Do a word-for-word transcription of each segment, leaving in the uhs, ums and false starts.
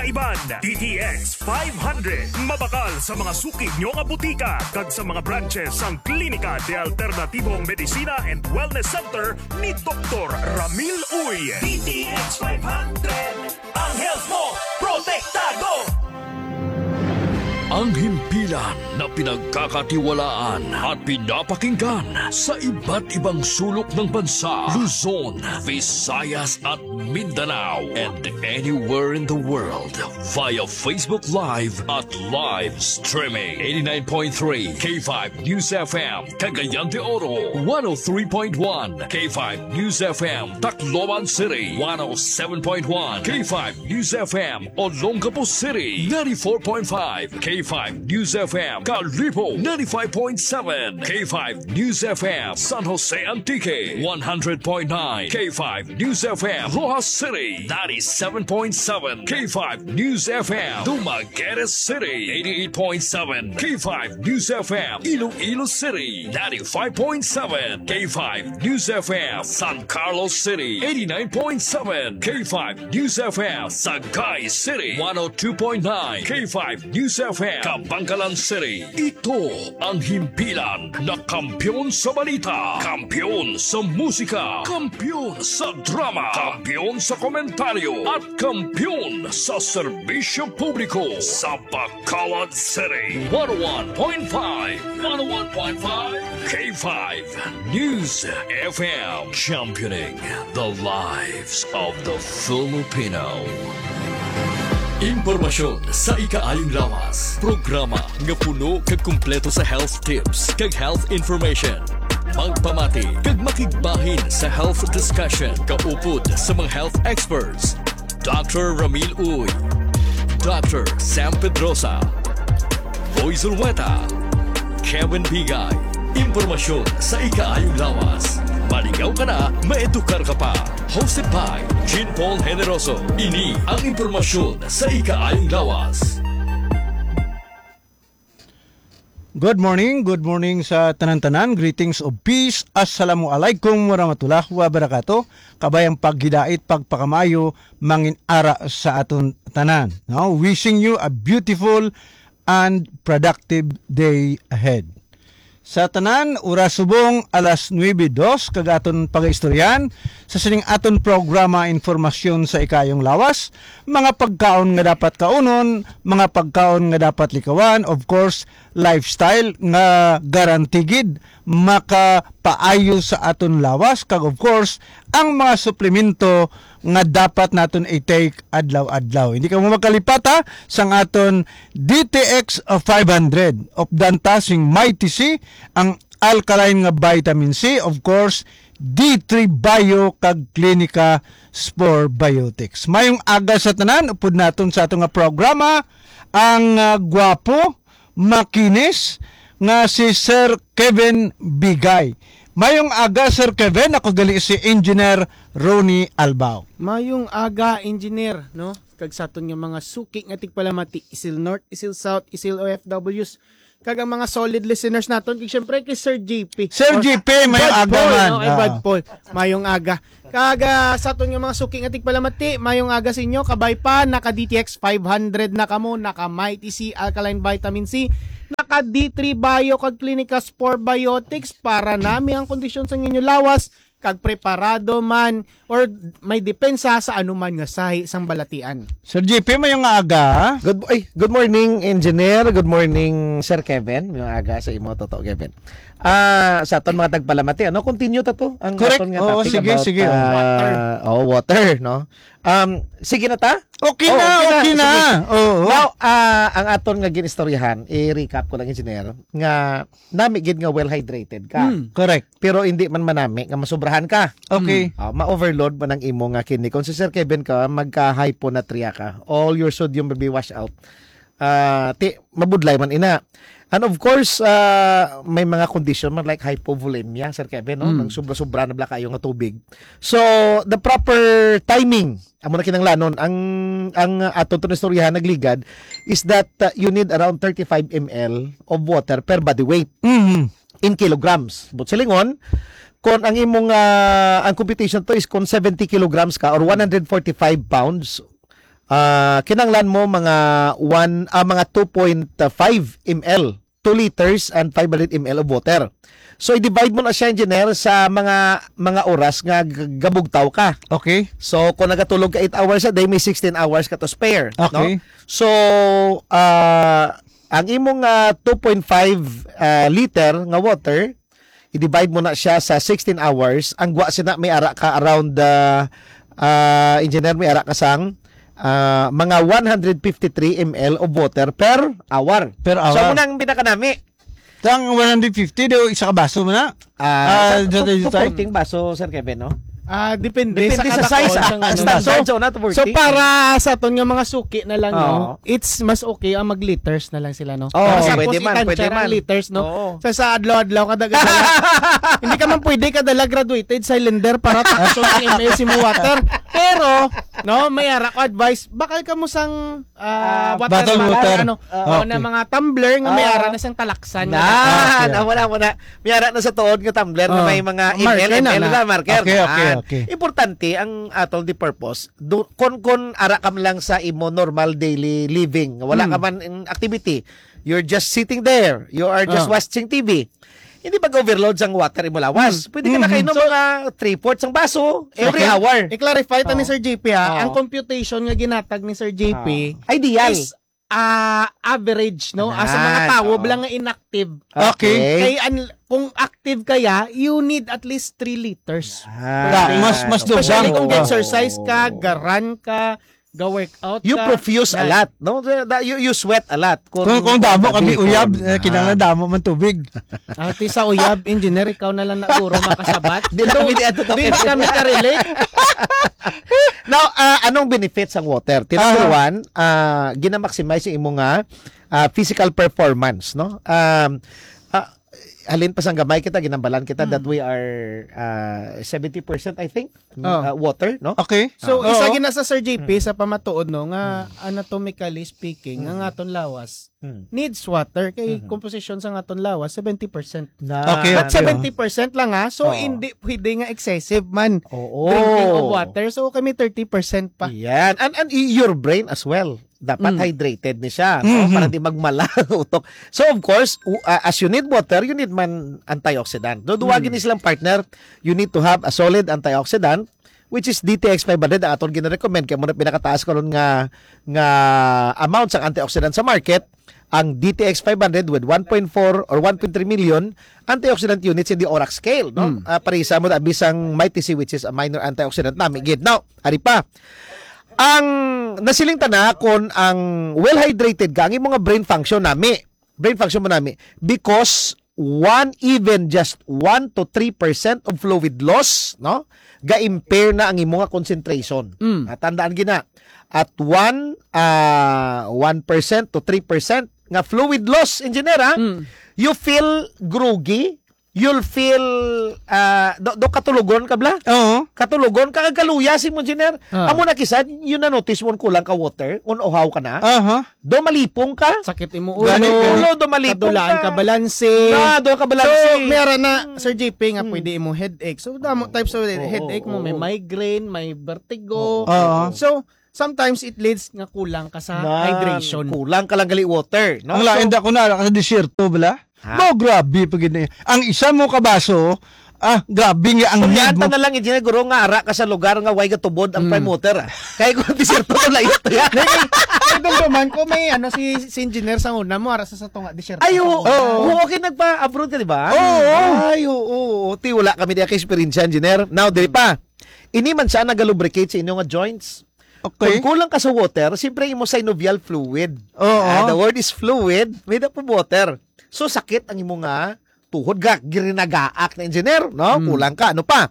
Kaiban, D T X five hundred. Mabakal sa mga suki nyo nga butika kag sa mga branches sang Klinika de Alternatibong Medicina and Wellness Center ni Doktor Ramil Uy. D T X five hundred. Ang health mo, protektado! Ang himpilan na pinagkakatiwalaan at pinapakinggan sa iba't ibang sulok ng bansa, Luzon, Visayas at Mindanao, and anywhere in the world via Facebook Live at live streaming. Eighty-nine point three K five News F M, Cagayan de Oro, one oh three point one K five News F M, Tacloban City, one oh seven point one K five News F M, Olongapo City, ninety-four point five K five News F M, Kalibo, ninety-five point seven K five News F M, San Jose Antique, one hundred point nine K five News F M, Roxas City, ninety-seven point seven K five News F M, Dumaguete City, eighty-eight point seven K five News F M, Iloilo City, ninety-five point seven K five News F M, San Carlos City, eighty-nine point seven K five News F M, Sagay City, one oh two point nine K five News F M, Kabankalan City. Ito ang himpilan na kampiyon sa balita, kampiyon sa musika, kampiyon sa drama, kampiyon sa komentaryo, at kampiyon sa serbisyo publiko sa Bacolod City. One oh one point five, one oh one point five K five News F M, championing the lives of the Filipino. Impormasyon sa ikaayong lawas. Programa nga puno kag kumpleto sa health tips kag health information. Magpamati kag makigbahin sa health discussion kaupod sa mga health experts. Doctor Ramil Uy, Doctor Sam Pedrosa, Boy Zulueta, Kevin Bigay. Impormasyon sa ikaayong lawas. Malingaw ka na, maedukar ka pa. Hosted by Jean Paul Generoso. Ini ang impormasyon sa ikaayong lawas. Good morning, good morning sa tanan-tanan. Greetings of peace. Assalamu alaikum warahmatullahi wabarakatuh. Kabay ang paghidait, pagpakamaayo, mangin ara sa aton tanan. No? Wishing you a beautiful and productive day ahead. Sa tanan, oras subong alas nuebe dos, kag aton pagaistoryahan sa sining aton programa, Informasyon sa Ikayong Lawas, mga pagkaon nga dapat kaunon, mga pagkaon nga dapat likawan, of course, lifestyle nga guarantee gid makapaayo sa aton lawas, kag of course, ang mga suplemento nga dapat naton i-take adlaw-adlaw. Hindi kamo magkalipata sang aton D T X five hundred. Updan ta sing Mighty C, ang alkaline nga vitamin C, of course, D three Bio kag Klinika Spore Biotics. Mayong aga sa tanan, upod naton sa ato nga programa, ang, ah, gwapo, makinis nga si Sir Kevin Bigay. Mayong aga, Sir Kevin. Ako gali si Engineer Ronnie Albao. Mayong aga, Engineer, no? Kag sa aton nga mga suki nga tigpalamati, Isil North, Isil South, Isil O F Ws, kag ang mga solid listeners naton, kag syempre kay Sir J P. Sir Or J P, mayong Bad aga Paul, man. No? Kay Bad Ah. Paul, mayong aga. Kag, ah, sa aton nga mga suki nga tigpalamati, mayong aga sa inyo. Kabay pa, naka D T X five hundred na kamo, naka Mighty C Alkaline Vitamin C, naka D three Bio kag Clinica Spore Biotics para nami ang kondisyon sa inyo lawas, kag preparado man or may depensa sa anuman nga sahi sang balatian. Sir J P, mayong aga. Good, ay, good morning, Engineer. Good morning, Sir Kevin. Mayong aga sa imo, Toto Kevin. Ah, sa aton mga tagpalamati, ano? Continue ta to, ang Correct. aton nga Oo, topic sige, about, sige. ah, Water. Oh, water, no? Um, sige na ta? Okay Oh, na, okay na. okay na. Sige. Oo. Now, ah, ang aton nga ginistoryahan, i-recap ko lang, Engineer, nga nami gid nga well hydrated ka. Mm. Correct. Pero hindi man manami nga masobrahan ka. Okay. Mm. Ah, ma-overload man ang imo nga kidney. Kung si Sir Kevin ka, magka-hyponatremia ka. All your sodium will be washed out. Ah, ti, mabudlay man ina. And of course, ah, may mga condition man like hypovolemia, Sir Kevin, no? Mm. Nang sobra-sobra na bala kayo nga tubig. So, the proper timing, amo na kinahanglanon, ang, ang aton to istoryahan nagligad is that, ah, you need around thirty-five M L of water per body weight Mm. in kilograms. But silingon, kung ang imong, ah, ang computation to is kung seventy kilograms ka or one hundred forty-five pounds, Ah, kinahanglan mo mga one, ah, mga two point five M L, two liters and five hundred M L of water. So, i-divide mo na siya, engineer, sa mga, mga oras nga g-, gabugtaw ka. Okay. So, kung nagatulog ka eight hours a day, may sixteen hours ka to spare, no? Okay. So, ah, ang imong, ah, two point five, ah, liter nga water, i-divide mo na siya sa sixteen hours. Ang gwa sina may ara ka around, ah, ah, engineer, may ara ka sang, ah, mga one hundred fifty-three M L of water per hour. Per So, hour. Amo nang pinakanami. Ang one hundred fifty, do isa ka baso mo na? Ah, Ah, sa, dito, su-, dito, supporting baso, Sir Kevin, no? Ah, depende Depende sa sa kada size, kaon ah. sang ano. Standard So, sa una, to so, forty. para sa aton nga mga suki na lang, no? Oo. It's mas okay ang mag-liters na lang sila, no? Oo, Para sa pwede pos man, pwede itansya ang man. liters, no? Oo. Sa, sa adlaw-adlaw, kada, kada, hindi ka man pwede kadala graduated cylinder para takson ang M S mo water. Pero, no, may ara ko advice, bakal ka mo sang, ah, Ah, water bottle bottle, water. ano, Oo. o na mga tumbler nga may Ah. ara na sang talaksan. Na, Okay, na, okay. wala, wala. May ara na sa tuod nga tumbler na Oh. may mga Marker M L, na, M L na. na, marker Okay, okay, na. okay. Importante ang atol di purpose. Do, kon, kon ara ka man lang sa imo normal daily living, wala Hmm. ka man in activity, you're just sitting there, you are just Ah. watching T V. Hindi pag-overload sang water imo lawas. Hmm. Pwede ka na Mhm. kainom So, mga three-fourths ang baso every Okay. hour. I-clarify ta ni Oh. Sir J P, ha. Oh. Ang computation nga ginatag ni Sir J P Ah. Ideal. is ah, average, no? Ah, sa mga Yan, tawo oo. lang nga inactive. Okay. Okay. Kay an-, kung active kaya, you need at least three liters Yan. per Da, day. mas, mas Especially dubang. kung Oo. exercise ka, ga-run ka, ga-workout You ka. profuse a Yan. lot, no? The, the, you, you sweat a lot. Kung, kung damo kami gabi, uyab, kung eh, kinahanglan Ah. damo man tubig. Ati sa uyab, engineer, ikaw na lang na guro makasabat. Di na kami di ato Di na kami ka-relate. Now, ah, anong benefits ang water? Ti number Aha. one, ah, gina-maximize yung imo nga, ah, physical performance, no? Um, ah, halin pa sang gamay kita, ginambalan kita that Hmm. we are, ah, seventy percent, I think, Oo. ah, water, no? Okay. So, Oo. isa gina sa Sir J P, Mm. sa pamatuod, no, nga Mm. anatomically speaking, nga Mm. aton lawas, Hmm. needs water kay Mhm. komposisyon sa aton lawas, seventy percent. Na. Okay, But okay. seventy percent lang, ha? So, Oo. hindi pwede nga excessive man Oo. drinking of water. So, kami thirty percent pa. Yan. And, and y-, your brain as well. Dapat Mm. hydrated ni siya, no? Mhm. Para di magmala ang utok. So, of course, u-, uh, as you need water, you need man antioxidant. No, duha Mm. gini silang partner. You need to have a solid antioxidant, which is D T X five hundred, ang aton gina-recommend. Kaya muna pinakataas karon nga, nga amount sa antioxidant sa market. Ang D T X five hundred with one point four or one point three million antioxidant units in the ORAC scale, no? Mm. Ah, parisa mo na bisang Mighty C, which is a minor antioxidant nami gid. Now, ari pa. Ang nasiling ta na, kung ang well hydrated ka, ang imong mga brain function nami, brain function mo nami, because one, even just one to three percent of fluid loss, no? Ga-impair na ang imong concentration. Mm. Ah, tandaan gina, at one, ah, one percent to three percent nga fluid loss, engineer, ha? Mm. You feel groggy, you'll feel, ah, do, do katulogon ka, bla? Oo. Katulogon ka, kag kaluya si mo, engineer. Ah. Amo na kisan, yun na notice mo kulang ka water, kung uhaw ka na. Aha. Do malipong ka. Sakit imo Gani, ulo. Ulo, do malipong Kadulaan ka. ka balanse. Na, do ka balanse. So, meron na, Sir J P, nga Hmm. pwede imo headache. So, damo Oo. types of Oo, headache mo. May oo. migraine, may vertigo. Oo. Oo. So, sometimes it leads nga kulang ka sa Na, hydration. kulang ka lang gali water, no? Ang lain So, da ko na, sa disyerto, bala? Ha? Mo, grabe pa gid na. Ang isa mo ka baso, ah, grabe nga ang Kuryaan need mo. ta na lang, engineer, guro, nga ara ka sa lugar nga way gatubod ang Mm. prime water, ah. Kaya kung disyerto to, layo to yan. Hindi, kay, kay dumduman ko, may ano, si, si engineer sa una mo, ara sa, sa tunga, disyerto Ay, sa oo. una. Oo. Oo, okay, nagpa-abroad ka, di ba? Oo. Ay, oo, oo. Ti, wala kami di ka experience, engineer. Now, dili pa. Ini man siya nagalubricate sa inyo nga joints. Okay. Kung kulang ka sa water, siyempre imo synovial fluid. Oo. Ah, the word is fluid, made up of water. So, sakit ang imo nga tuhod, ga, girinagaak na, engineer, no? Hmm. Kulang ka, ano pa?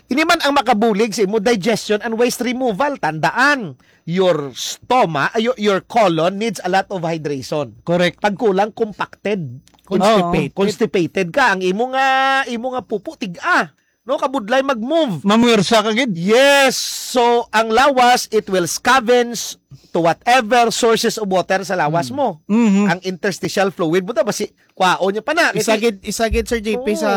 Ini man ang makabulig sa imo digestion and waste removal. Tandaan, your stomach, ah, your, your colon needs a lot of hydration. Correct. Pag kulang, compacted. Constipated. Oh, constipated ka. Ang imo nga, imo nga pupo, tiga. No, kabudlay mag-move. Mamuwersa ka gid. Yes. So, ang lawas, it will scavenge to whatever sources of water sa lawas Mm. mo. Mhm. Ang interstitial fluid mo, ta, basi, kwaon niya pa na. Isa Kasi gid, isa gid, Sir J P, Oo. sa,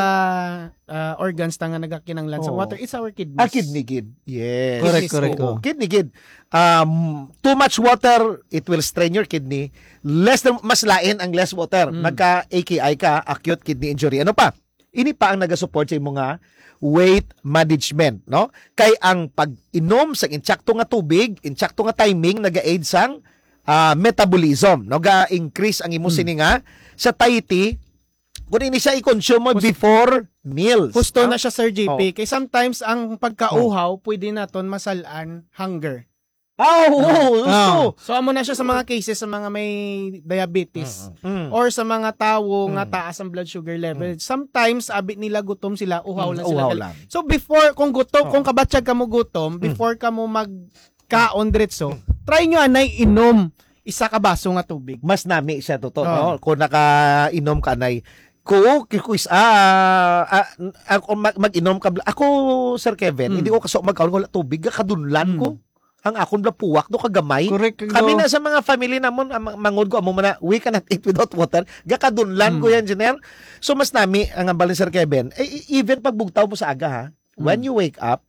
ah, organs ta nga nagakinanglan sa Oo. water, it's our kidneys. Ah, kidney gid. Yes. Correct, Kidneys, correct, oo. oo. Kidney gid. Um, too much water, it will strain your kidney. Less than, mas lain ang less water. Mm. Magka A K I ka, acute kidney injury. Ano pa? Ini pa ang nagasupport sa imo nga weight management, no? Kay ang pag-inom sa insakto nga tubig, insakto nga timing, naga-aid sang, ah, metabolism, no? Ga-increase ang imo Hmm. sini nga satiety kung ini siya i-consume mo Hus- before meals, Husto no? na siya, Sir J P. Oo. Kay sometimes ang pagkauhaw, pwede naton masalan hunger. Ah, oo, Ah. gusto. Ah. So, amo na siya sa mga cases sa mga may diabetes Mm, mm. or sa mga tawo nga Mm. taas ang blood sugar level. Mm. Sometimes, abi nila gutom sila, uhaw Mm, lang sila uhaw gali. lang. So, before, kung gutom, Oo. kung kabatyag ka mo gutom, Mm. before ka mo magkaon diretso, Mm. try nyo anay inom isa ka baso nga tubig. Mas nami siya, totoo, Oo. no? Kung nakainom ka, anay. Ko, kikuis, ah, ah, ako mag-, mag-inom ka, bla-, ako, Sir Kevin, Mm. hindi ko kaso magkaon, wala tubig, kadunlan Mm. ko. Ang akon bala puwak, no, kagamay. Correct, Kami no. na sa mga family namon, ang ma-, mangod ko, amo man na, "We cannot eat without water." Gakadunlan ko Mm. yan, Engineer. So, mas nami ang hambal ni Sir Kevin. Eh, e-, even pag bugtaw mo sa aga, ha? When Mm. you wake up,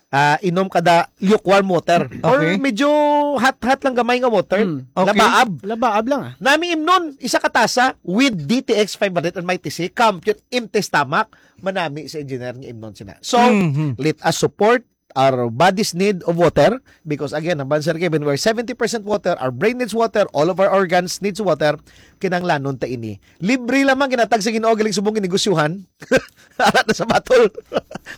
ah, inom ka da lukewarm water. Or Okay. medyo hot-hot lang gamay nga water. Mm. Okay. Labaab. Labaab lang, ah. Nami imnon, isa ka tasa with D T X five hundred and Mighty C, Compute, empty stomach, manami sa Engineer nga imnon sina. So, Mhm. let us support our body's need of water, because again, ang bansa kay, when we're seventy percent water, our brain needs water, all of our organs needs water, kinahanglanon ta ini. Libre lamang ginatag sa Ginoo, galing subong ginegosyohan. Ara na sa batol.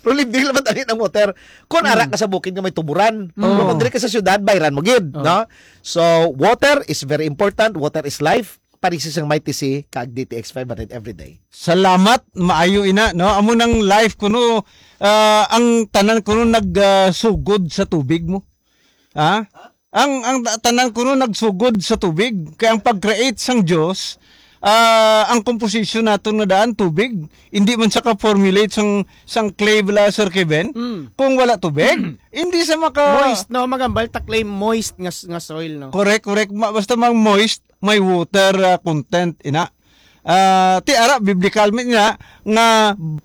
Pero libre lamang tani ang water. Kung ara Mm. ka sa bukid nga may tuburan, Mm. pero kung diri ka sa syudad, bayran mo gid, Oh. no? So, water is very important. Water is life. Parisi sang Mighty C kag D T X five hundred every day. Salamat, maayo ina, no? Amo nang life kuno, ah, ang tanan kuno nag, ah, sugod sa tubig mo. Ha? Ang, ang ta-, tanan kuno nagsugod sa tubig. Kay ang pag-create sang Dios, ah, ang composition naton nga daan tubig. Hindi man sa ka-formulate sang, sang clay bala, Sir Kevin. Mm. Kung wala tubig, hindi sa maka- Moist, no? Magambal ta clay moist nga s-, nga soil, no? Correct, correct. Ma-, basta mang moist, may water, ah, content, ina. Ah, ti ara, biblical man ina, nga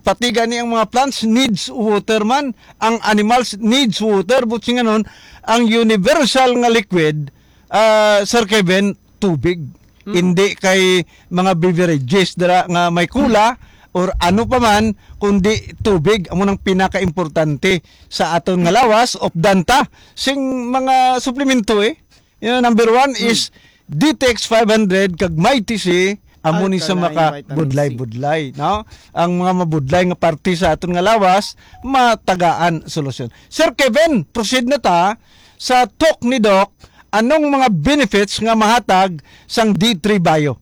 pati gani ang mga plants needs water man, ang animals needs water, but singanon, ang universal nga liquid, ah, Sir Kevin, tubig. Mm. Hindi kay mga beverages dira nga may cola or ano pa man, kundi tubig. Amo nang pinakaimportante sa aton nga lawas, updan ta sing mga suplemento, eh. You know, number one Hmm. is D T X five hundred kag Mighty C, amo ni sa Alkaline maka vitamin C. budlay-budlay, no? Ang mga mabudlay nga parte sa aton nga lawas, matagaan solusyon. Sir Kevin, proceed na ta sa talk ni Doc. Anong mga benefits nga mahatag sang D three Bio?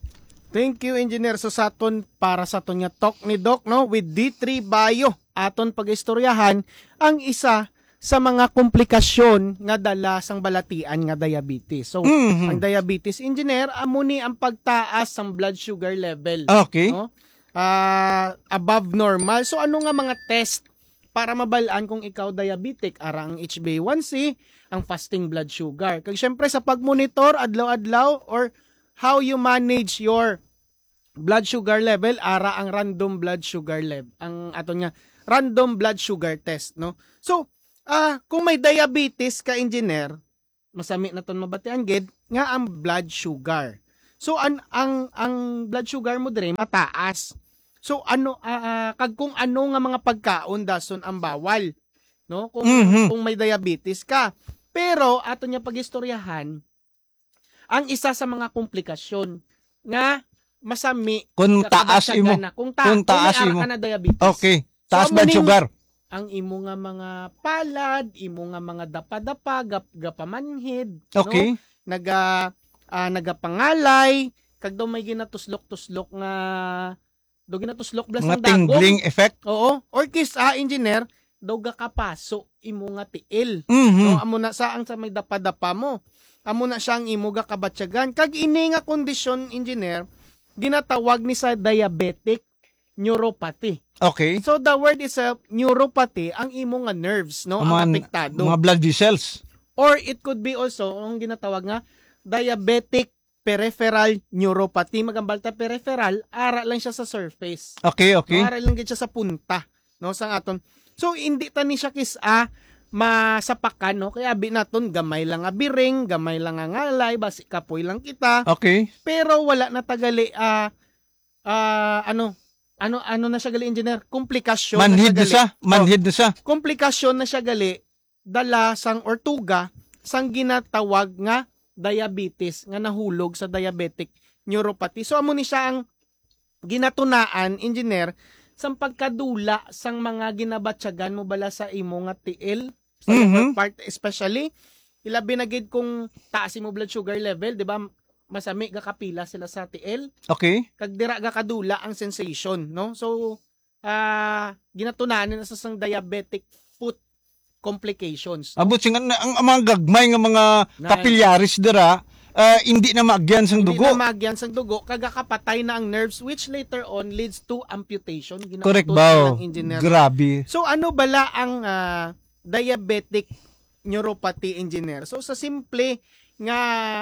Thank you, Engineer. So, sa aton, para sa aton nga talk ni Doc, no, with D three Bio, aton pag-istoryahan ang isa sa mga komplikasyon nga dala sang balatian nga diabetes. So, Mhm. ang diabetes, Engineer, amo ni ang pagtaas sang blood sugar level. Okay. No? Ah, above normal. So, ano nga mga test para mabal-an kung ikaw diabetic? Ara ang H b A one C, ang fasting blood sugar. Kag syempre, sa pag-monitor adlaw-adlaw or how you manage your blood sugar level, ara ang random blood sugar level, ang aton nga random blood sugar test, no? So, ah, kung may diabetes ka, Engineer, masami naton mabatian gid nga ang blood sugar. So, an-, ang, ang blood sugar mo diri mataas. So, ano, ah, ah, kag kung ano nga mga pagkaon dason ang bawal, no? Kung, Mhm. kung may diabetes ka. Pero, aton nga pag-istoryahan, ang isa sa mga komplikasyon nga masami Kung nga taas kabatyagan imo. na. Kung ta-, Kung kung taas may ara imo. ka na diabetes. Okay. So, Taas amo blood ning sugar. ang imo nga mga palad, imo nga mga dapa-dapa, gap-, gapamanhid, no? Okay. Naga-, ah, nagapangalay, kag daw may ginatuslok-tuslok nga, daw ginatuslok bala Mga sang dagom. tingling effect? Oo. Or kis-, ah, Engineer, daw gakapaso imo nga tiil. Mhm. No, amo na sa ang sa may dapa-dapa mo. Amo na siya ang imo gakabatyagan. Kag ini nga kondisyon, Engineer, ginatawag ni sa diabetic neuropathy. Okay. So the word itself, neuropathy, ang imo nga nerves, no, Ang ang mga, apektado. mga blood vessels. Or it could be also ang ginatawag nga diabetic peripheral neuropathy. Magambal ta peripheral, ara lang siya sa surface. Okay, okay. No, ara lang gid siya sa punta, no, sang aton. So hindi ta ni siya kis-a masapakan, no? Kaya abi naton gamay lang nga biring, gamay lang nga ngalay, basi kapoy lang kita. Okay. Pero wala na tagali ah ah, ano ano ano na siya gali, engineer, komplikasyon na Manhid siya na gali. siya. Manhid na siya. Komplikasyon na siya gali, dala sang or tuga sang ginatawag nga diabetes nga nahulog sa diabetic neuropathy. So amo ni siya ang ginatunaan, engineer, sang pagkadula sang mga ginabatyagan mo bala sa imo nga tiil, sa Mhm. lower part especially. Ilabi na gid kung taas imo blood sugar level, di ba? Masami gakapila sila sa tiil. Okay. Kag dira gakadula ang sensation, no? So, ah, ginatunahan na sa sang diabetic foot complications. Abot sing ang, ang, ang mga gagmay nga mga Nice. capillaries dira, ah, hindi na maagyan sang Hindi dugo. na maagyan sang dugo, kag gakapatay na ang nerves, which later on leads to amputation. Ginautod Correct ba? Ng engineer. Grabe. So ano bala ang ah, diabetic neuropathy, engineer? So sa simple nga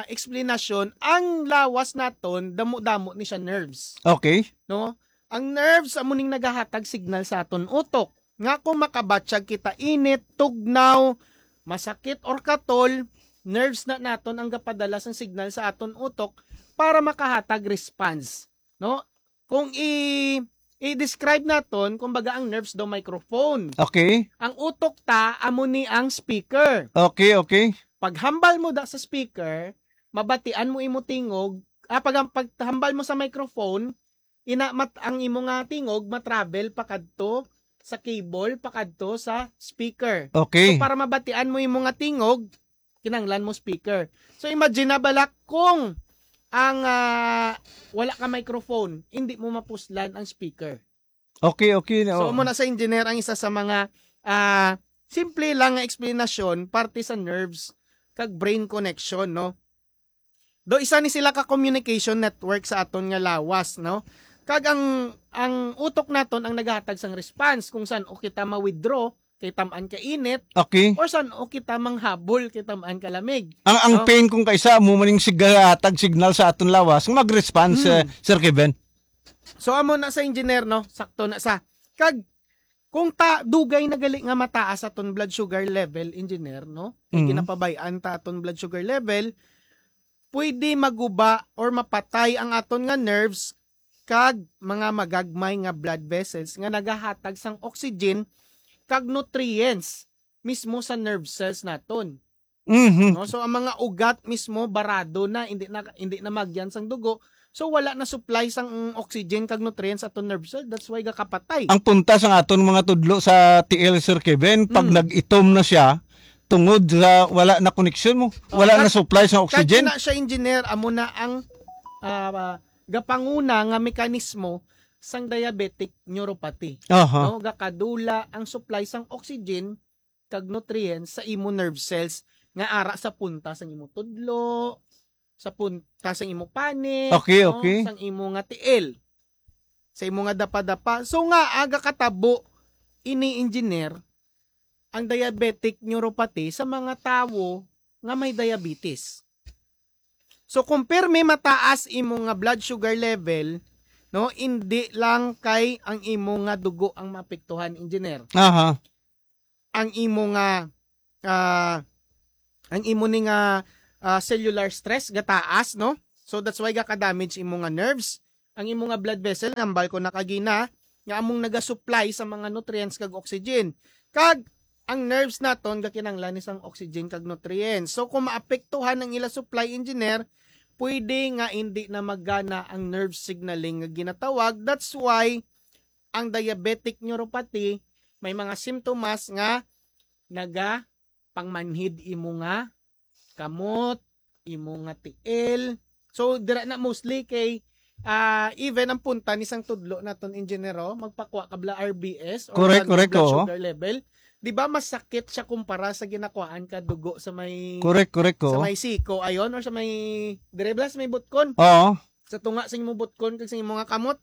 explanation, ang lawas naton damo-damo ni siya nerves, Okay. no? Ang nerves amo ning nagahatag signal sa aton utok nga kung makabatyag kita init, tugnaw, masakit or katol, nerves na naton ang gapadala sang signal sa aton utok para makahatag response, no? Kung i i-describe naton, kumbaga ang nerves daw microphone. Okay. Ang utok ta amo ni ang speaker. Okay, okay. Paghambal mo da sa speaker, mabatian mo imo tingog, ah, pag paghambal mo sa microphone, ina mat ang imo nga tingog matravel pakadto sa cable, pakadto sa speaker. Okay. So para mabatian mo imo nga tingog, kinahanglan mo speaker. So imagine na bala kung ang ah, wala ka microphone, hindi mo mapuslan ang speaker. Okay, okay. So Oh. amo na sa engineer ang isa sa mga ah, simple lang nga explanation parte sa nerves kag brain connection, no? Do isa ni sila ka communication network sa aton nga lawas, no? Kag ang ang utok naton ang nagahatag sang response kung san-o kita ma-withdraw kay tam-an ka init, Okay. Or san-o kita manghabol kay tam-an ka lamig. Ang ang No? pain kung kaisa mo maning sigahatag signal sa aton lawas, mag-response, Hmm. eh, Sir Kevin. So amo na sa engineer, no? Sakto na sa. Kag kung ta dugay na gali nga mataas aton blood sugar level, engineer, no? Kay Mhm. Ginapabay-an ta aton blood sugar level, pwede maguba or mapatay ang aton nga nerves kag mga magagmay nga blood vessels nga nagahatag sang oxygen kag nutrients mismo sa nerve cells naton. Mhm. No? So ang mga ugat mismo barado na, hindi na hindi na magyan sang dugo. So wala na supply sang oxygen kag nutrients aton nerve cell. That's why gakapatay. Ang punta sa aton mga tudlo sa T L, Sir Kevin, pag Mm. nag-itom na siya, tungod sa wala na koneksyon mo, wala kag- na supply sa oxygen. Kag na siya, engineer, amo na ang ah, gapanguna nga mekanismo sang diabetic neuropathy. Aha. No, gakadula ang supply sang oxygen kag nutrients sa imo nerve cells nga ara sa punta sang imo tudlo, sa punta sang imo panit, Okay, no? Okay. Sang imo nga tiil, sa imo nga dapa-dapa. So nga aga katabo ini, engineer, ang diabetic neuropathy sa mga tawo nga may diabetes. So kung pirmi mataas imo nga blood sugar level, no, hindi lang kay ang imo nga dugo ang maapektuhan, engineer. Aha. Ang imo nga ah, ang imo ni nga ah, cellular stress gataas, no? So that's why gaka-damage imo nga nerves, ang imo nga blood vessel, nambal ko na kagina, nga among nagasupply sa mga nutrients kag oxygen. Kag ang nerves naton gakinahanglan ni sang oxygen kag nutrients. So kung maapektuhan ang ila supply, engineer, pwede nga hindi na magana ang nerve signaling nga ginatawag. That's why ang diabetic neuropathy may mga simptomas nga naga pangmanhid imo nga kamot, imo nga tiil. So dira na mostly kay ah, even ang punta ni sang tudlo naton, engineer, oh, magpakuha ka bala R B S or Correct, ano, correct, blood oo. Sugar level. Di ba masakit siya kumpara sa ginakuhaan ka dugo sa may Correct, correct sa ko. May siko ayon or sa may dire bala sa may butkon? Oo. Sa tunga sa imong butkon kag sa imong nga kamot.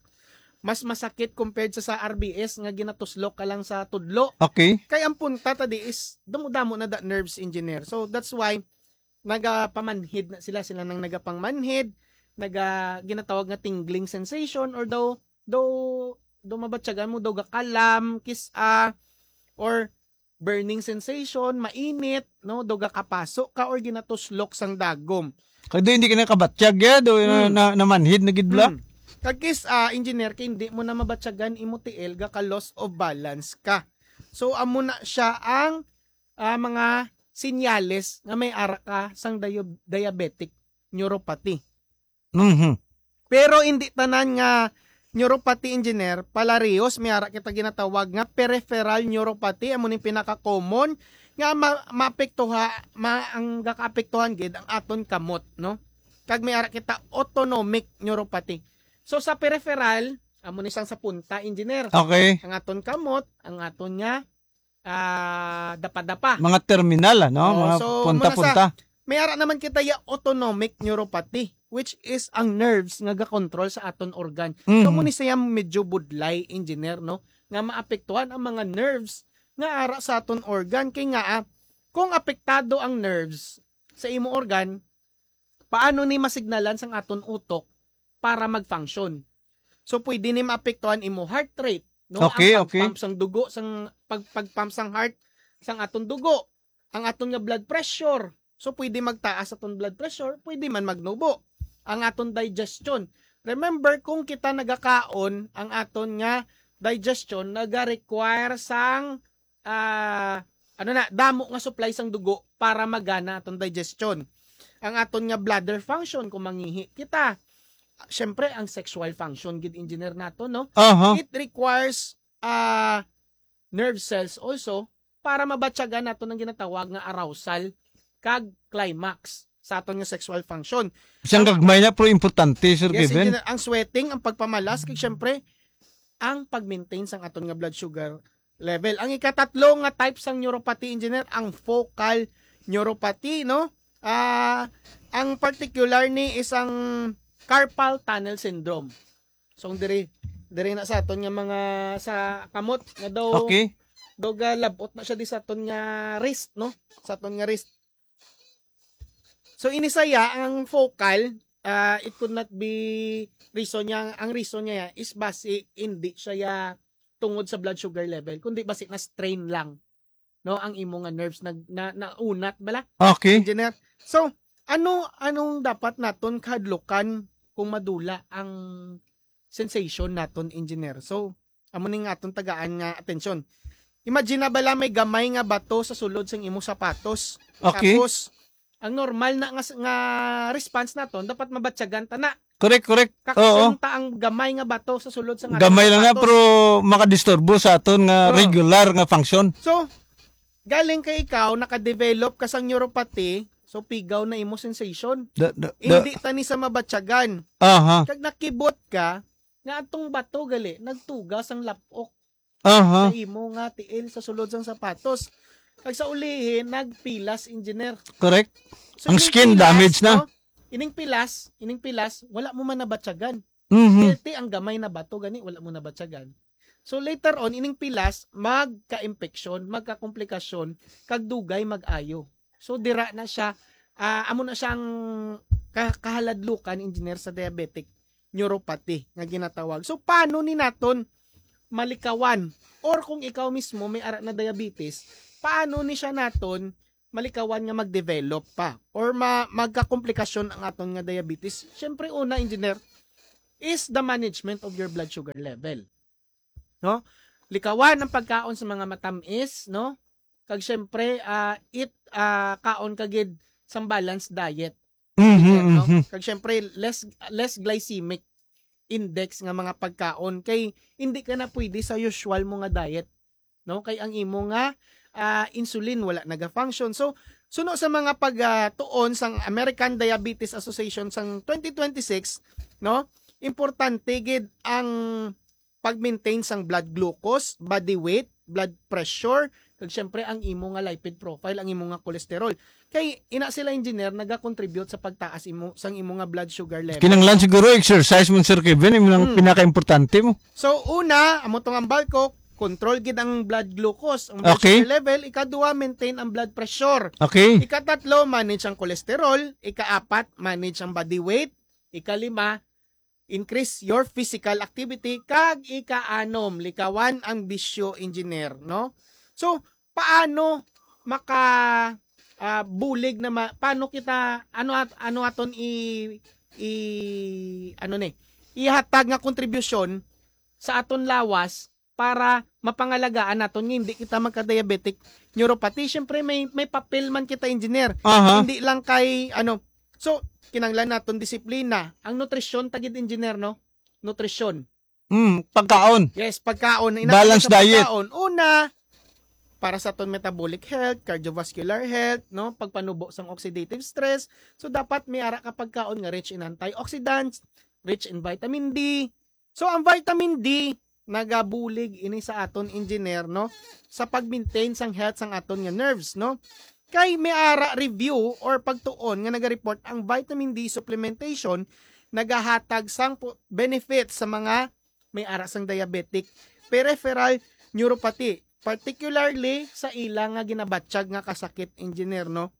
mas masakit compared sa, sa R B S nga ginatuslok ka lang sa tudlo. Okay. Kay ang punta ta di is damo-damo na da nerves, engineer. So that's why nagapamanhid na sila, sila nang nagapangmanhid, naga ginatawag nga tingling sensation, or daw daw daw mabatyagan mo daw gakalam, kis-a, or burning sensation, mainit, no, daw gakapaso ka or ginatuslok sang dagom. Kay do hindi ka nakabatyag ya, do na, Hmm. na, namanhid na gid bala. Hmm. Kag kis-a, engineer, kay hindi mo na mabatyagan imo tiil, gaka loss of balance ka. So amo na siya ang ah, mga sinyales nga may ara ka sang dio- diabetic neuropathy. Mhm. Pero hindi tanan nga neuropathy, engineer, palariyos, may ara kita ginatawag nga peripheral neuropathy, amo ning pinaka-common nga ma- maapektuha ma- ang gakaapektuhan gid ang aton kamot, no? Kag may ara kita autonomic neuropathy. So sa peripheral, amo ni sang sa punta, engineer. Okay. Ang aton kamot, ang aton nga ah, dapa-dapa. Mga terminal, ano? Oo, Mga so, punta-punta. May ara naman kita ya autonomic neuropathy, which is ang nerves nga ga-control sa aton organ. So Mhm. mo ni siya medyo budlay, engineer, no? Nga maapektuhan ang mga nerves nga ara sa aton organ. Kay nga, ah, kung apektado ang nerves sa imo organ, paano ni masignalan sang aton utok para mag-function? So pwede ni maapektuhan imo heart rate, no? Okay, Ang okay. Pag-pump sang dugo, sang pag pag-pump sang heart, sang aton dugo, ang aton nga blood pressure. So pwede magtaas aton blood pressure, pwede man magnubo. Ang aton digestion. Remember, kung kita nagakaon, ang aton nga digestion naga-require sang ah, ano na, damo nga supply sang dugo para magana aton digestion. Ang aton nga bladder function kung mangihi kita. Siyempre, ang sexual function gid, engineer, nato, no? Aha. It requires ah nerve cells also para mabatyagan nato ang ginatawag nga arousal kag climax sa aton nga sexual function. Siyang gagmay na pero importante, Sir Yes, Kevin. Engineer, ang sweating, ang pagpamalas, kag syempre, ang pag-maintain sang aton nga blood sugar level. Ang ikatatlo nga type sang neuropathy, engineer, ang focal neuropathy, no? Ah, ang particular ni is ang carpal tunnel syndrome. So, ang diri diri na sa aton nga mga sa kamot nga daw Okay. daw galabot na siya di sa aton nga wrist, no? Sa aton nga wrist. So ini saya ang focal, ah, it could not be reason niya, ang reason niya is basi hindi siya ya tungod sa blood sugar level, kundi basi na strain lang, no, ang imo nga nerves nag na, naunat bala, Okay. engineer. So ano anong dapat naton kahadlukan kung madula ang sensation naton, engineer? So amo ning aton tagaan nga atensyon. Imagine na bala may gamay nga bato sa sulod sang imo sapatos. Okay. Tapos ang normal na nga, nga response naton dapat mabatyagan ta na. Correct, correct. Oo. Kakson ta ang gamay nga bato sa sulod sang aton Gamay lang na sapatos. Pero makadisturbo sa aton nga Oo. Regular nga function. So galing kay ikaw naka-develop ka sang neuropathy, so pigaw na imo sensation. Da, da, da, Hindi ta ni sa mabatyagan. Aha. Kag nakibot ka nga atong bato gali nagtuga sang lapok Aha. Sa imo nga tiil sa sulod sang sapatos. Kag sa ulihi nagpilas, engineer. Correct. So, Ang ining skin pilas, damage na. No? Ining pilas, ining pilas, wala mo man nabatyagan. Mhm. Healthy ang gamay na bato gani, wala mo nabatyagan. So later on, ining pilas magka-impeksyon, magkakomplikasyon, kag dugay mag-ayo. So dira na siya, ah, amo na siyang ka- kahaladlukan, engineer, sa diabetic neuropathy nga ginatawag. So paano ni naton malikawan? Or kung ikaw mismo may ara na diabetes, paano ni siya naton malikawan nga mag-develop pa or ma- magkakomplikasyon ang aton nga diabetes? Siyempre, una, engineer, is the management of your blood sugar level. No? Likawan ang pagkaon sa mga matamis, no? Kag siyempre, ah, eat, ah, kaon ka gid sang balanced diet. Mhm, No? mhm. Kag siyempre, less less glycemic index nga mga pagkaon kay hindi ka na pwede sa usual mo nga diet, no? Kay ang imo nga ah, insulin wala naga-function. So suno sa mga pagtuon sang American Diabetes Association sang twenty twenty-six, no? Importante gid ang pag-maintain sang blood glucose, body weight, blood pressure, kag syempre ang imo nga lipid profile, ang imo nga cholesterol. Kay ina sila, engineer, nagakontribute sa pagtaas imo sang imo nga blood sugar level. Kinanglan siguro exercise mo, Sir Kevin, yung Hmm. pinaka-importante mo. So una, amo tong ambal ko, control gid ang blood glucose, ang blood Okay. sugar level. Ikaduha, maintain ang blood pressure. Okay? Ikatatlo, manage ang cholesterol. Ikaapat, manage ang body weight. Ikalima, increase your physical activity. Kag ikaanom, likawan ang bisyo, engineer, no? So, paano maka ah, bulig na ma- paano kita, ano at ano aton i i ano ni, ihatag nga kontribusyon sa aton lawas para mapangalagaan naton nga hindi kita magka-diabetic neuropathy? Syempre, may may papel man kita, engineer. Aha. Hindi lang kay ano. So, kinanglan naton disiplina. Ang nutrisyon, tagid, engineer, no? Nutrisyon. Mm, pagkaon. Yes, pagkaon. Balanced diet. Pagkaon. Una, para sa aton metabolic health, cardiovascular health, no, pagpanubo sang oxidative stress. So dapat may ara ka pagkaon nga rich in antioxidants, rich in vitamin D. So ang vitamin D nagabulig ini sa aton, engineer, no, sa pag-maintain sang health sang aton nga nerves, no. Kay may ara review or pagtuon nga nagareport ang vitamin D supplementation nagahatag sang po- benefits sa mga may ara sang diabetic peripheral neuropathy, particularly sa ila nga ginabatyag nga kasakit, engineer, no?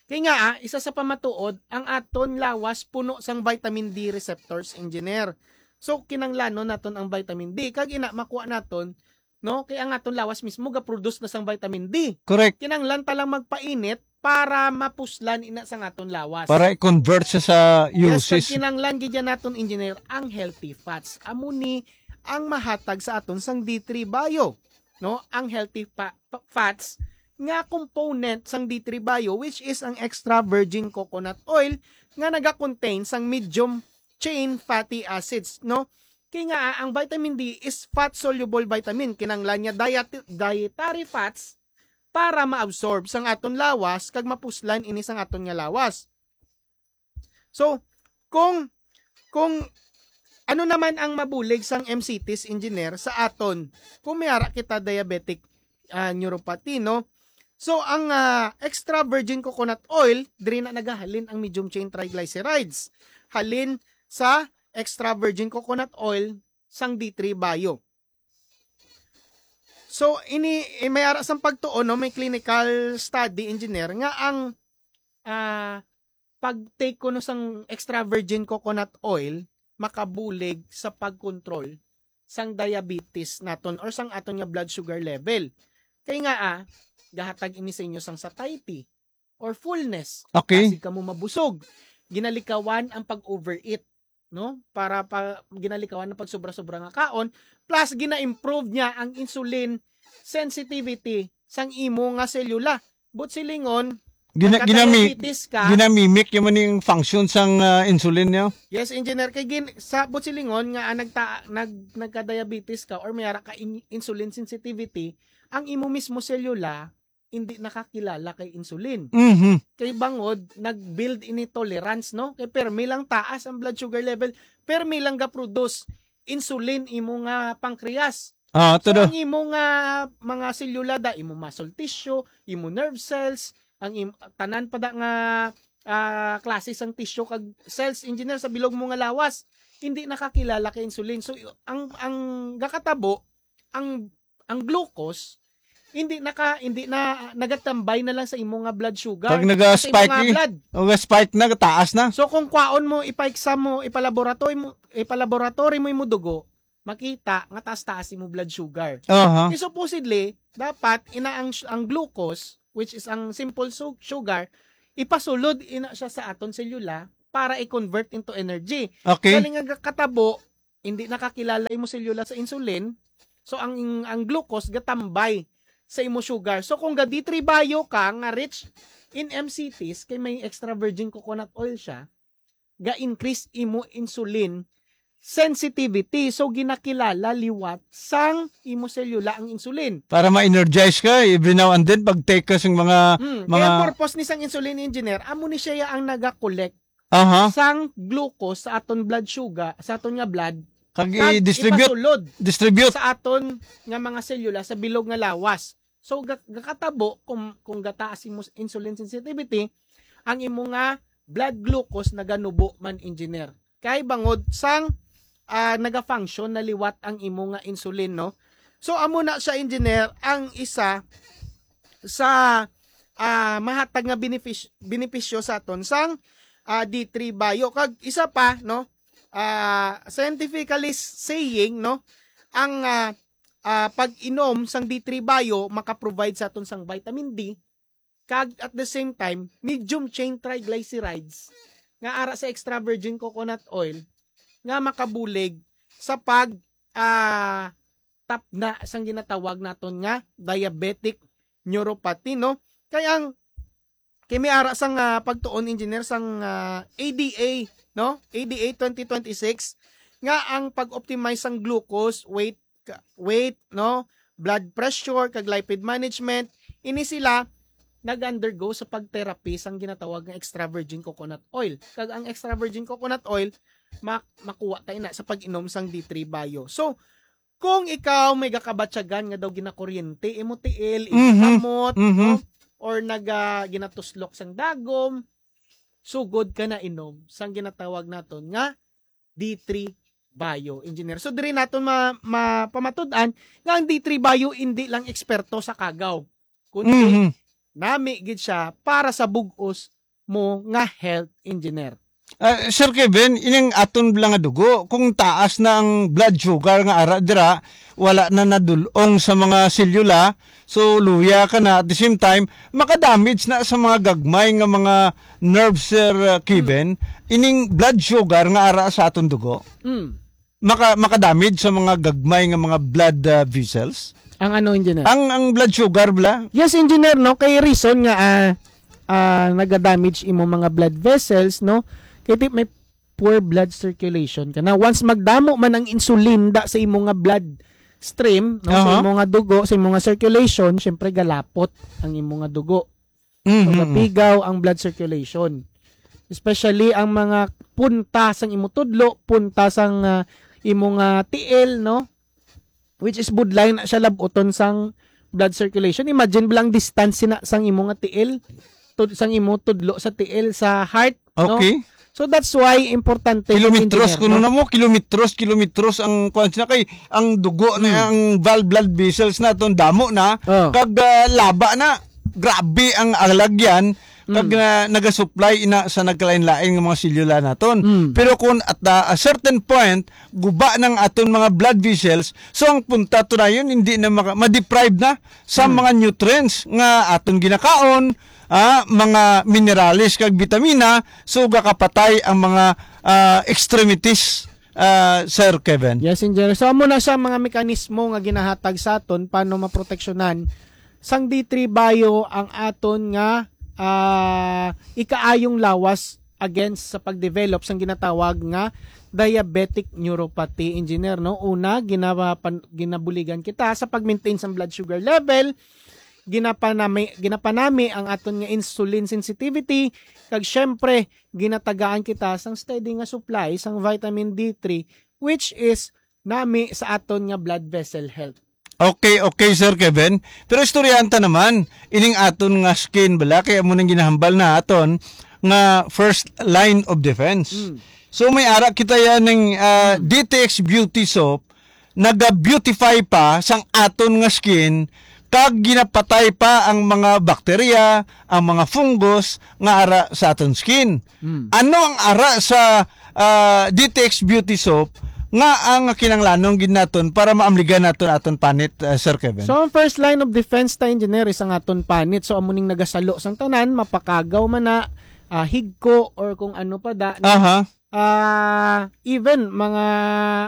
Kay nga, ah, isa sa pamatuod, ang aton lawas puno sang vitamin D receptors, engineer. So, kinanglanon naton ang vitamin D. Kag ina, makuha naton, no? Kay ang aton lawas mismo ga-produce na sang vitamin D. Correct. Kinanglan ta lang magpainit para mapuslan ina sang aton lawas. Para i-convert siya sa Yes, kag uses. Kinanglan gid yan naton, engineer, ang healthy fats. Amo ni ang mahatag sa aton sang D three Bio, no? Ang healthy fa- fa- fats nga component sang D three Bio, which is ang extra virgin coconut oil nga naga-contain sang medium chain fatty acids, no? Kay nga, ah, ang vitamin D is fat soluble vitamin, kinanglan niya diet- dietary fats para maabsorb sang aton lawas kag mapuslan ini sang aton nga lawas. So, kung kung ano naman ang mabulig sang M C Ts, engineer, sa aton kung may ara kita diabetic, ah, neuropathy, no? So ang, ah, extra virgin coconut oil, diri na nagahalin ang medium chain triglycerides. Halin sa extra virgin coconut oil sang D three Bio. So ini, eh, may ara sang pagtuon, no, may clinical study, engineer, nga ang, ah, pag-take kuno sang extra virgin coconut oil makabulig sa pag-control sang diabetes naton or sang aton nga blood sugar level. Kay nga, ah, gahatag ini sa inyo sang satiety or fullness. Okay. Kasi kamo mabusog. Ginalikawan ang pag-overeat, no? Para pa ginalikawan ang pagsobra-sobra nga kaon, plus gina-improve niya ang insulin sensitivity sang imo nga selula. But silingon, Gina, ginami, nagka-diabetes ka. Ginamimic yung maning function sang ah, insulin niya. Yes, engineer, kay gin, sa but silingon nga ah, nagta, nag, nagka-diabetes ka or may ara ka in, insulin sensitivity, ang imo mismo selula hindi nakakilala kay insulin. Mhm. Kay bangod nag-build ini tolerance, no? Kay permi lang taas ang blood sugar level, permi lang ga-produce insulin imo nga pancreas. Ah, So, todo. Ang imo nga mga selula da, imo muscle tissue, imo nerve cells, ang im, tanan pa da nga ah, klase sang tissue kag cells, engineer, sa bilog mo nga lawas, hindi nakakilala kay insulin. So ang ang gakatabo, ang ang glucose hindi naka hindi na nagatambay na lang sa imo nga blood sugar. Pag naga-spike sa imo nga eh. Blood. O spike na, taas na. So kung kwaon mo, ipa-exam mo, ipalaboratory mo, ipalaboratory mo imo dugo, makita nga taas-taas imo blood sugar. Aha. Eh, supposedly, dapat ina ang ang glucose, which is ang simple su- sugar, ipasulod ina siya sa aton selula para i-convert into energy. Okay. Kani nga katabo, hindi nakakilala imo selula sa insulin. So ang ang glucose gatambay sa imo sugar. So kung ga D three Bio ka nga rich in M C Ts, kay may extra virgin coconut oil siya, ga-increase imo insulin sensitivity. So ginakilala liwat sang imo selula ang insulin. Para ma-energize ka every now and then pag take ka sang mga Hmm, mga kaya purpose ni sang insulin, engineer, amo ni siya ang naga-collect Aha. sang glucose sa aton blood sugar, sa aton nga blood, Kag Kag i-distribute. ipasulod Distribute. sa aton nga mga selula sa bilog nga lawas. So, ga-, gakatabo kung, kung gataas imo s-, insulin sensitivity, ang imo nga blood glucose naganubo man, engineer. Kay bangod sang, ah, nagafunction na liwat ang imo nga insulin, no? So, amo na siya, engineer, ang isa sa, ah, mahatag nga benefis-, benepisyo sa aton sang, ah, D three Bio. Kag isa pa, no? Ah, scientifically s-, saying, no? Ang, ah, ah, pag-inom sang D three Bio maka-provide sa aton sang vitamin D, kag at the same time, medium chain triglycerides nga ara sa extra virgin coconut oil nga makabulig sa pag, ah, tapna sang ginatawag naton nga diabetic neuropathy, no? Kay ang, kay may ara sang, ah, pagtuon, engineer, sang, ah, A D A, no? A D A twenty twenty-six, nga ang pag-optimize sang glucose, weight, ka-, weight, no? Blood pressure, kag lipid management, ini sila nag-undergo sa pag-therapy sang ginatawag nga extra virgin coconut oil. Kag ang extra virgin coconut oil, mak-, makuha ta ina sa pag-inom sang D three Bio. So, kung ikaw may gakabatyagan nga daw ginakuryente imo tiil, imo Mhm. kamot, Mhm. no? Or naga-, ginatuslok sang dagom, sugod ka na inom sang ginatawag naton nga D three Bio, engineer. So, diri naton ma-, mapamatud-an nga ang D three Bio indi lang eksperto sa kagaw, kundi Mhm. nami gid siya para sa bug-os mo nga health, engineer. Ah, Sir Kevin, ining aton bala nga dugo, kung taas na ang blood sugar nga ara dira, wala na nadul-ong sa mga selula, so luya ka na, at the same time, makadamage na sa mga gagmay nga mga nerves, Sir, uh, Kevin, ining blood sugar nga ara sa aton dugo. Mm. Maka-, makadamage sa mga gagmay nga mga blood, uh, vessels. Ang ano, engineer? Ang, ang blood sugar bala? Yes, engineer, no? Kay reason nga, ah, ah, nagadamage imo mga blood vessels, no? Kay ti-, may poor blood circulation ka na. Once magdamo man ang insulin da sa imo nga blood stream, no? Sa Aha. imo nga dugo, sa imo nga circulation, syempre galapot ang imo nga dugo. Mhm. Magapigaw ang blood circulation. Especially ang mga punta sang imo tudlo, punta sang, ah, imo nga tiil, no? Which is budlay na siya labuton sang blood circulation. Imagine bala ang distance na sang imo nga tiil, tud-, sang imo tudlo sa tiil sa heart, no? Okay. So that's why importante yung Kilometros, engineer, kuno no? na mo, kilometros, kilometros ang kuwan sila kay ang dugo na, Hmm. ang val-, blood vessels naton damo na, Oh. kag, ah, laba na. Grabe ang alagyan, kag Hmm. na, nagasupply ina sa nagkalain-lain nga mga selula naton. Hmm. Pero kung at, ah, a certain point, guba ng aton mga blood vessels, so ang punta to na yun, hindi na maka-, ma-deprive na sa Hmm. mga nutrients nga aton ginakaon, ah, mga minerales kag bitamina, so gakapatay ang mga, ah, extremities, ah, Sir Kevin. Yes, engineer. So, amo na siya mga mekanismo nga ginahatag sa aton paano maproteksyonan sang D three Bio ang aton nga, ah, ikaayong lawas against sa pagdevelop sang ginatawag nga diabetic neuropathy, engineer, no? Una, ginapan-, ginabuligan kita sa pag-maintain sang blood sugar level, ginapanami, ginapanami ang aton nga insulin sensitivity, kag syempre, ginatagaan kita sang steady nga supply sang vitamin D three, which is nami sa aton nga blood vessel health. Okay, okay, Sir Kevin. Pero istoryahan ta naman, ining aton nga skin bala, kaya mo nang ginahambal na aton nga first line of defense. Mm. So may ara kita yan ng, ah, Mm. D T X Beauty Soap, naga-beautify pa sang aton nga skin, kag ginapatay pa ang mga bakterya, ang mga fungus nga ara sa aton skin. Mm. Ano ang ara sa, ah, D T X Beauty Soap nga ang kinanglanon gid naton para maamligan naton aton panit, ah, Sir Kevin? So, ang first line of defense ta, engineer, is ang aton panit. So, amo ning nagasalo sang tanan, mapakagaw man na, ah, higko, or kung ano pa da, no? Aha. Ah, even mga,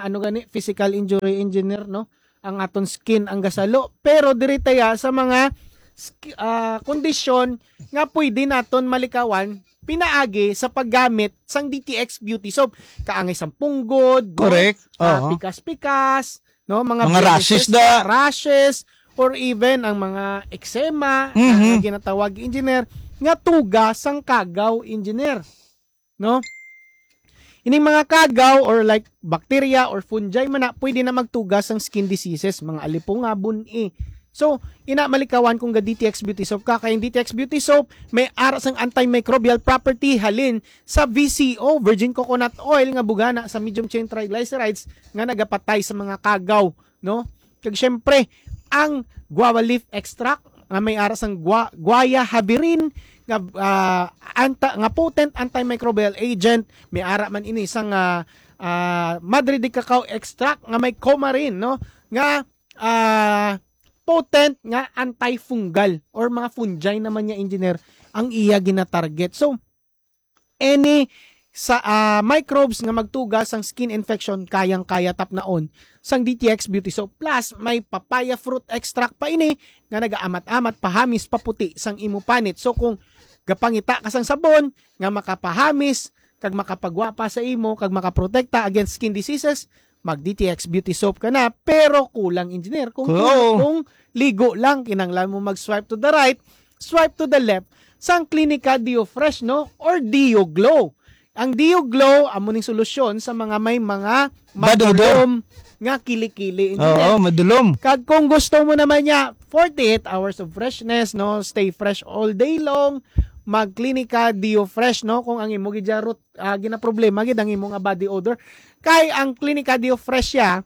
ano gani, physical injury, engineer, no? Ang aton skin ang gasalo. Pero diri taya sa mga sk-, ah, kondisyon nga pwede naton malikawan pinaagi sa paggamit sang D T X Beauty Soap. Kaangay sang punggod, no? Correct. Ah, Oo. pikas-pikas, no? Mga Mga rashes blemish da. rashes, or even ang mga eczema, Mhm. ah, ginatawag, engineer, nga tuga sang kagaw, engineer. No? Ining mga kagaw or like bacteria or fungi man na, pwede na magtuga sang skin diseases, mga alipunga, bun-i. So, ina malikawan kung ga D T X Beauty Soap ka, kay ang D T X Beauty Soap may ara sang antimicrobial property halin sa V C O, virgin coconut oil, nga bugana sa medium chain triglycerides nga nagapatay sa mga kagaw, no? Kag syempre, ang guava leaf extract nga may ara sang gua-, guaiavirin nga, ah, anta-, nga potent antimicrobial agent, may ara man ini sang, ah, ah, madre de cacao extract nga may coumarin, no? Nga, ah, potent nga antifungal or mga fungi naman niya, engineer, ang iya ginatarget. So, any sa, ah, microbes nga magtuga sang skin infection, kayang-kaya tapnaon sang D T X Beauty Soap. Plus, may papaya fruit extract pa ini nga nagaamat-amat pahamis, paputi sang imo panit. So, kung gapangita ka sang sabon nga makapahamis kag makapagwapa sa imo kag makaprotekta against skin diseases, mag D T X Beauty Soap ka na. Pero kulang, engineer, kung, kung, Oo. kung ligo lang, kinahanglan mo mag-swipe to the right, swipe to the left sang Clinica Deo Fresh, no? Or Deo Glow. Ang Deo Glow, amo ning solusyon sa mga may mga Bad odor. madulom nga kilikili. Oo, madulom. Kag kung gusto mo naman niya, forty-eight hours of freshness, no? Stay fresh all day long. Mag Clinica Deo Fresh, no? Kung ang imo gid root, ah, ginaproblema gid ang imo nga body odor. Kay ang Clinica Deo Fresh siya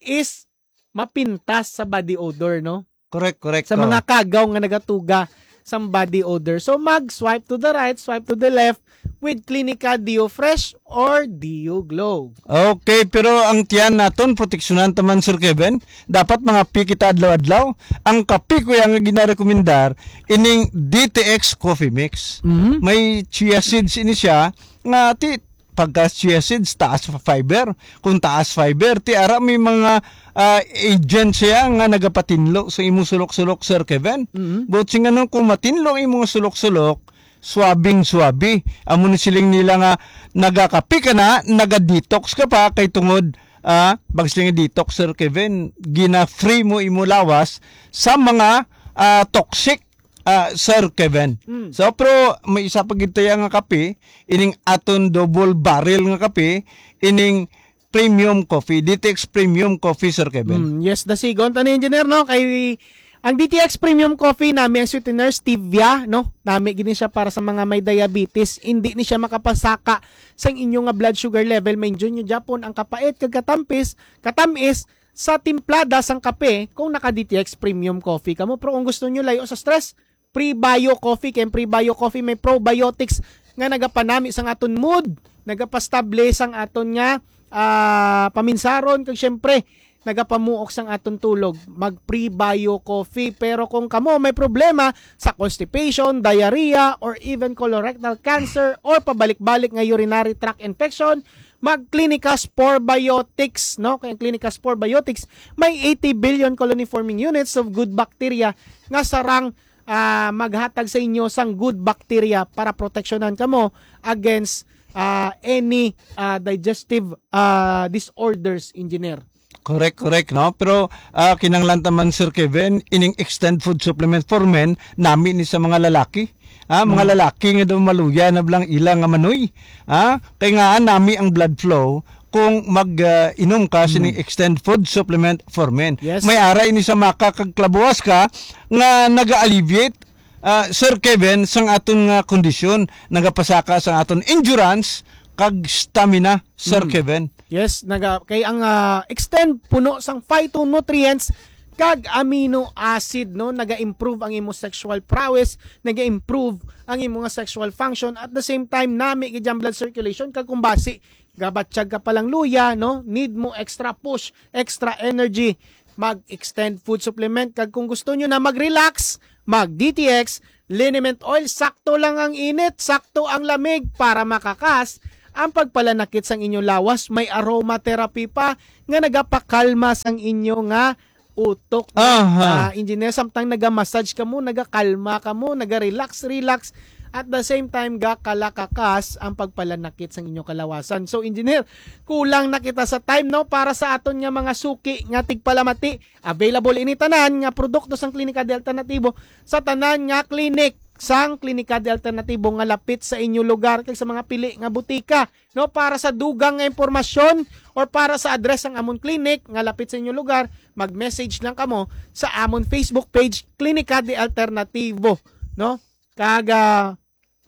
is mapintas sa body odor, no? Correct, correct. Sa Oh. mga kagaw nga nagatuga sang body odor. So, mag-swipe to the right, swipe to the left with Clinica Deo Fresh or Deo Glow. Okay, pero ang tiyan naton, proteksyonan ta man, Sir Kevin. Dapat mangape kita adlaw-adlaw. Ang kape ko yang ginarekomendar, ining D T X Coffee Mix. Mhm. May chia seeds ini siya, nga ti, pagka chia seeds, taas pa fiber. Kung taas fiber, ti ara may mga, ah, agent siya nga nagapatinlo sa imong sulok-sulok, Sir Kevin. Mhm. But sing ano, kung matinlo ang imong sulok-sulok, swabing-swabe. Amo ni siling nila nga nagakape ka na, naga-detox ka pa, kay tungod, ah, bag siling detox, Sir Kevin, gina-free mo imo lawas sa mga, ah, toxic, ah, Sir Kevin. Mm. So, pero may isa pa gid tayo nga kape, ining aton double barrel nga kape, ining premium coffee, D T X premium coffee, Sir Kevin. Mm, yes, dasigon ta ni, engineer, no? Kay ang D T X premium coffee, nami ang sweetener, stevia, no? Nami gini siya para sa mga may diabetes. Hindi ni siya makapasaka sa inyo nga blood sugar level. May inyo Japon ang kapait kag katampis, katamis sa timplada sang kape kung naka D T X premium coffee kamo. Pero kung gusto nyo layo sa stress, prebio coffee. Kay ang prebio coffee may probiotics nga nagapanami sang aton mood, nagapastable sang aton nga, ah, paminsaron, kag syempre nagapamuok sang aton tulog. Mag prebio coffee. Pero kung kamo may problema sa constipation, diarrhea, or even colorectal cancer, or pabalik-balik nga urinary tract infection, mag Clinicas Probiotics, no? Kay ang Clinicas Probiotics may eighty billion colony forming units of good bacteria nga sarang, ah, maghatag sa inyo sang good bacteria para proteksyonan kamo against, ah, any, ah, digestive, ah, disorders, engineer. Correct, correct, no? Pero, ah, kinahanglan ta man, Sir Kevin, ining extend food supplement for men, nami ni sa mga lalaki. Ah, mga Mm. lalaki nga daw maluya na blang ila nga manoy. Ah, kay nga nami ang blood flow kung mag, ah, inom ka sining Mm. extend food supplement for men. Yes. May ara ini sa maka kag klabuwas ka nga naga-alleviate, ah, Sir Kevin, sang aton nga kondisyon, nagapasaka sang aton endurance kag stamina, Sir Mm. Kevin. Yes, naga, kay ang, ah, extend puno sang phytonutrients kag amino acid, no, naga-improve ang imo sexual prowess, naga-improve ang imo nga sexual function, at the same time nami gid ang blood circulation, kag kung basi gabatyag ka palang luya, no, need mo extra push, extra energy, mag extend food supplement, kag kung gusto nyo na mag-relax, mag D T X liniment oil. Sakto lang ang init, sakto ang lamig para makakas ang pagpalanakit sang inyo lawas. May aromatherapy pa nga nagapakalma sang inyo nga utok, no? Aha. Ah, engineer, samtang naga-massage ka mo, nagakalma ka mo, naga-relax, relax. At the same time, gakalakakas ang pagpalanakit sang inyo kalawasan. So, engineer, kulang na kita sa time, no? Para sa aton nga mga suki nga tigpalamati, available ini tanan nga produkto sang Klinika de Alternatibo sa tanan nga clinic. sang Klinika de Alternatibo nga lapit sa inyo lugar kag sa mga pili nga butika, no? Para sa dugang nga impormasyon or para sa address sang amon clinic nga lapit sa inyo lugar, mag-message lang kamo sa amon Facebook page, Klinika de Alternatibo, no? Kag, ah,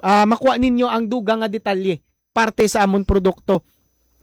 ah, makuha ninyo ang dugang nga detalye parte sa amon produkto.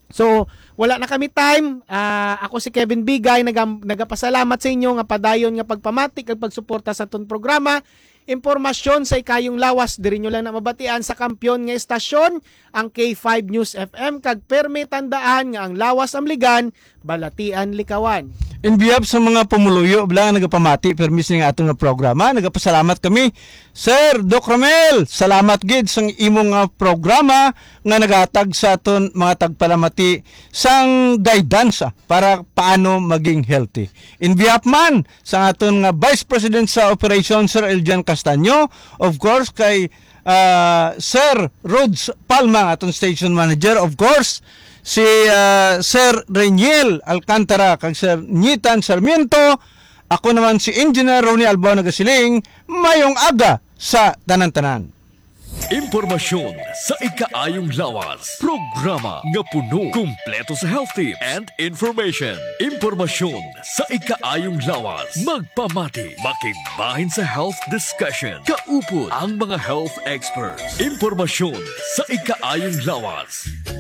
So, wala na kami time. Ah, ako si Kevin Bigay, naga-, nagapasalamat sa inyo nga padayon nga pagpamati kag pagsuporta sa aton programa. Impormasyon sa ikayong lawas, diri nyo lang na mabatian sa kampiyon nga estasyon, ang K five News F M, kag permi tandaan nga ang lawas amligan, balatian likawan. In behalf sa mga pumuluyo bala nga nagapamati permi sa nga aton nga programa, nagapasalamat kami, Sir Doc Romel. Salamat gid sang imo nga programa nga naghatag sa aton mga tagpalamati sang guidance, ah, para paano maging healthy. In behalf man sa aton nga Vice President sa Operation, Sir Eljan Castaño, of course, kay, ah, Sir Rods Palma, aton station manager, of course, si, ah, Sir Reniel Alcantara, kag Sir Nitan Sarmiento. Ako naman si Engineer Ronnie Albao nagasiling, mayong aga sa tanan-tanan. Impormasyon sa ikaayong lawas. Programa nga puno, kumpleto sa health tips and information. Impormasyon sa ikaayong lawas. Magpamati, makigbahin sa health discussion. Kaupod ang mga health experts. Impormasyon sa ikaayong lawas.